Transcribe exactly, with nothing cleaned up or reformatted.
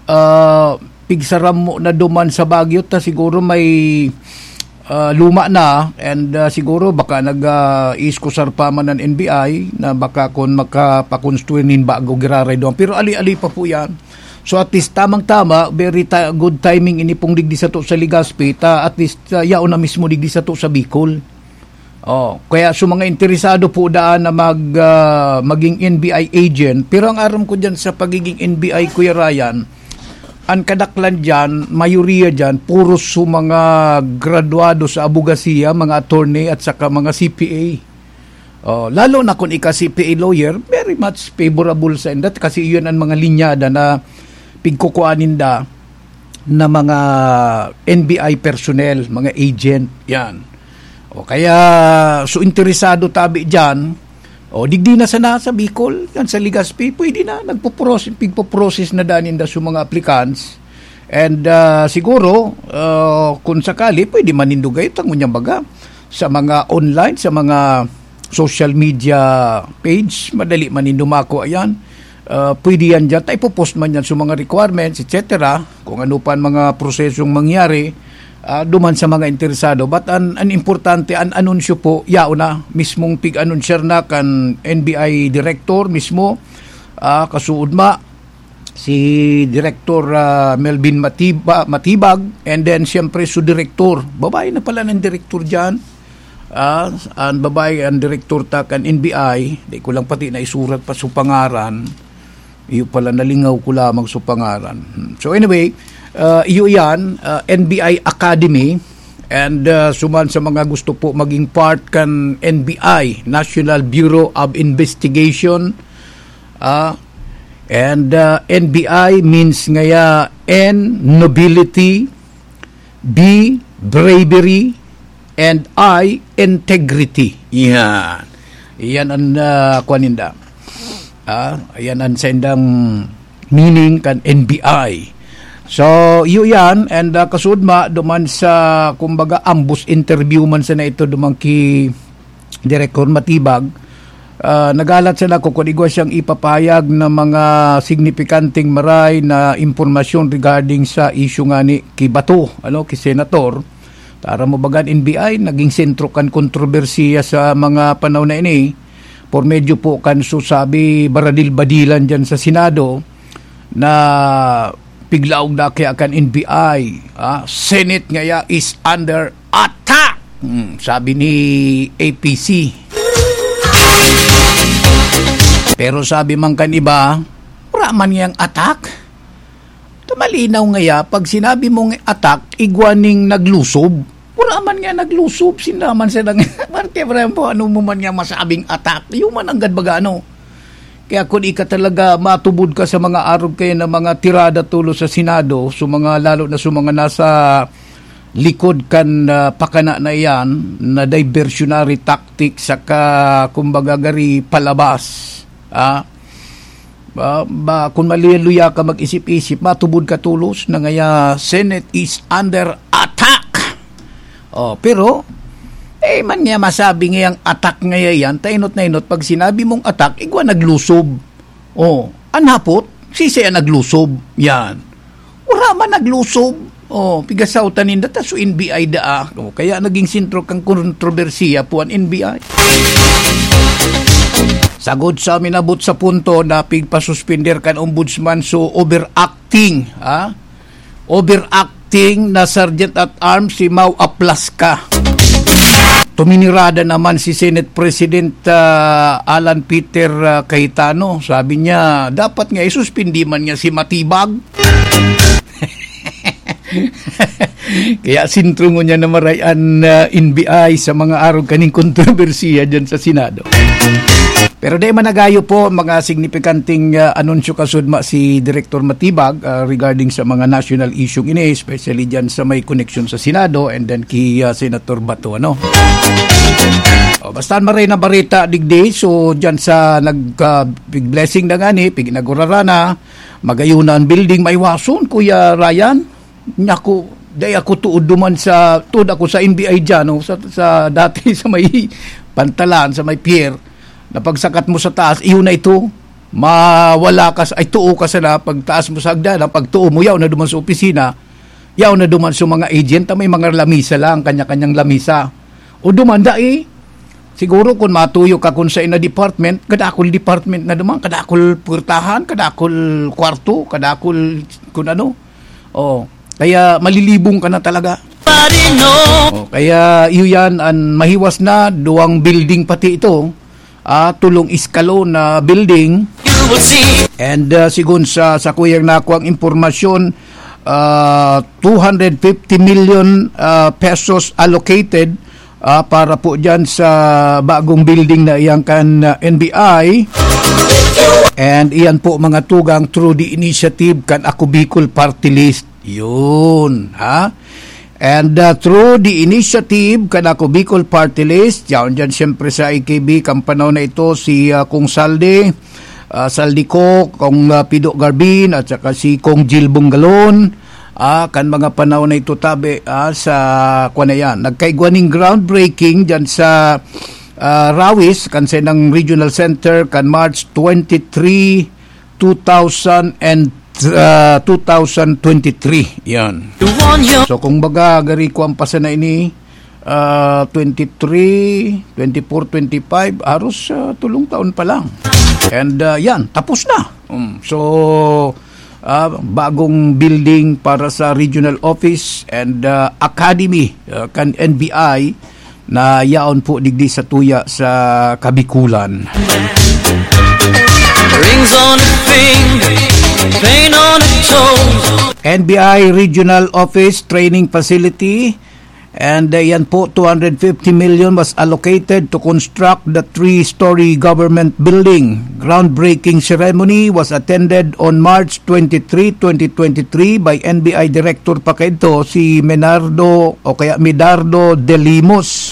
Ah, pigsaram mo na duman sa Baguio ta siguro may, ah, luma na and, ah, siguro baka nag, ah, iiskusar pa man an N B I na baka kun makapakonstruir nin bago giraray duman. Pero ali-ali pa po yan. So at least tamang-tama, very ti-, good timing ini pong digdi sato sa Legazpi ta at least, ah, yaon na mismo digdi sato sa Bicol. Oh, kaya sa mga interesado po daan na mag, ah, maging N B I agent, pero ang aram ko diyan sa pagiging N B I, Kuya Ryan, ang kadaklan diyan, mayoriya diyan, puro sa mga graduado sa abogasiya, mga attorney at saka mga C P A. Oh, lalo na kung ika C P A lawyer, very much favorable sa indat kasi yun ang mga linyada na pigkukuan ninda na mga N B I personnel, mga agent, yan. O kaya, so interesado tabi dyan, o digdi na sana sa Bicol, yan sa Legazpi, pwede na, nagpo-process, pigpo-process na daan ninda sa mga applicants. And, ah, siguro, ah, kung sakali, pwede man nindo gayon, tangon niya baga, sa mga online, sa mga social media page, madali man nindo makuha yan. Ah, pwede yan dyan, ta ipopost man yan sa mga requirements, et cetera. Kung ano pa ang mga prosesong mangyari, ah, duman sa mga interesado. But an, an importante, an anunsyo po, yaon na, mismong pig-anunsyar na kan N B I director mismo, ah, kasuod ma, si Director, ah, Melvin Matiba-, Matibag, and then siyempre su direktor. Babae na pala ng direktor dyan. Ah, ang babae, ang direktor ta kan N B I, di ko lang pati naisurat pa su pangaran. Iyo pala, nalingaw ko lamang su pangaran. Hmm. So anyway, ah, iyo yan, ah, N B I Academy. And, ah, suman sa mga gusto po maging part kan N B I, National Bureau of Investigation, ah, and, ah, N B I means ngaya N, nobility, B, bravery, and I, integrity. Yan. Yan ang, ah, kuwan ninda. Ah, yan ang sendang meaning kan N B I. So, iyo yan, and, ah, kasuod ma, duman sa, kumbaga, ambos interview man sana ito, duman ki Director Matibag, ah, nagalat sana ko kung igwa siyang ipapahayag na mga signipikanting maray na impormasyon regarding sa issue nga ni ki Bato, ano, ki Senator. Tara mo bagan N B I, naging sentro kan kontrobersiya sa mga panahon na ini. Por medyo po kan susabi baradil-badilan dyan sa Senado na piglaog na kaya kan N B I, ah, Senate ngaya is under attack, hmm, sabi ni A P C. Pero sabi man kan iba, wala man yang attack. Ta malinaw ngaya, pag sinabi mong attack, igwa ning naglusob. Wala man nga naglusob, sinda man sila nga. Marte, pre, po, ano mo man nga masabing attack? Yung man anggad baga, ano? Kaya kung ika talaga matubod ka sa mga arog kayo na mga tirada tulo sa Senado, so mga, lalo na sa mga nasa likod kan, ah, pakana na iyan, na diversionary tactic, saka, kumbaga, gari palabas, ah, ba, ba, kung maluya-luya ka mag-isip-isip, matubod ka tulos na ngaya, Senate is under attack. Oh, pero, eh, man nga masabi ngayang attack ngaya yan, tainot na inot, pag sinabi mong attack, igwa naglusob. Oh, an hapot, sisay an naglusob. Yan. Wala man naglusob. Oh, pigasautan ninda, ta su N B I daa. Oh, kaya naging sentro kan kontrobersiya po an N B I. Sagod sa minabot sa punto na pigpasuspender kan ombudsman, so overacting, ha? Overacting na Sergeant at Arms si Mau Aplaska. Tuminirada naman si Senate President, ah, Alan Peter, ah, Cayetano. Sabi niya, dapat nga isuspindi man niya si Matibag. Kaya sentro ngunyan na maray an, ah, N B I sa mga arog kaning kontrobersiya dyan sa Senado. Pero di man nagayo po mga signipikanting, ah, anunsyo kasudma si Director Matibag, ah, regarding sa mga national issue ini, especially dyan sa may koneksyon sa Senado and then kay, ah, Senator Bato, ano. O, basta maray na barita digdi, so dyan sa nag, ah, big blessing na gani, pig-inaugurara na, magayon na ang building, maiwason, Kuya Ryan. Naku, dai ako tuod duman sa, tuod ako sa N B I dyan, no? Sa, sa dati, sa may pantalan, sa may pier, na pagsakat mo sa taas, iyon na ito. mawala ka sa, ay, tuo ka sana, pagtaas mo sa hagdanan, pagtuo mo, yaon na duman sa opisina, yaon na duman sa mga agent, may mga lamisa lang, kanya-kanyang lamisa. O duman, dai, siguro kung matuyo ka kung sa ina department, kadakol department na duman, kadakol purtahan, kadakol kwarto, kadakol kung ano. Oh, kaya malilibong ka na talaga. Oh, kaya iyo yan, an mahiwas na, duwang building pati ito, ah, tulong eskalon na building. And, ah, sigon sa, sa kuyang nakuang impormasyon, ah, two hundred fifty million, ah, pesos allocated, ah, para po dyan sa bagong building na iyang kan, ah, N B I. And iyan po mga tugang through the initiative kan Ako Bicol Party List. Yun, ha? And, uh, through the initiative kan Ako Bicol Party List, yaon dyan siyempre sa A K B, kan panahon na ito, si, uh, Kong Saldi, uh, Saldi Co, Kong, uh, Pido Garbin, at saka si Kong Jill Bungalon, ah, kan mga panahon na ito tabi, ah, sa, kwan na yan, nagkaigwa ning groundbreaking dyan sa, uh, Rawis, kan Senang Regional Center, kan March twenty-three, two thousand and, uh, two thousand twenty-three. Yan. So, kung baga, gari ko ang pasana ini, ah, twenty-three, twenty-four, twenty-five, haros, ah, tulong taon pa lang. And, ah, yan, tapos na. Um, so, ah, bagong building para sa regional office and, ah, academy, ah, kan N B I na yaon po digdi sa tuya sa Kabikulan. Rings on a finger, paint on a toes. N B I Regional Office Training Facility. And, uh, yan po, two hundred fifty million was allocated to construct the three-story government building. Groundbreaking ceremony was attended on March twenty-three, twenty twenty-three by N B I Director pa kaidto, si Menardo o kaya Medardo de Limos.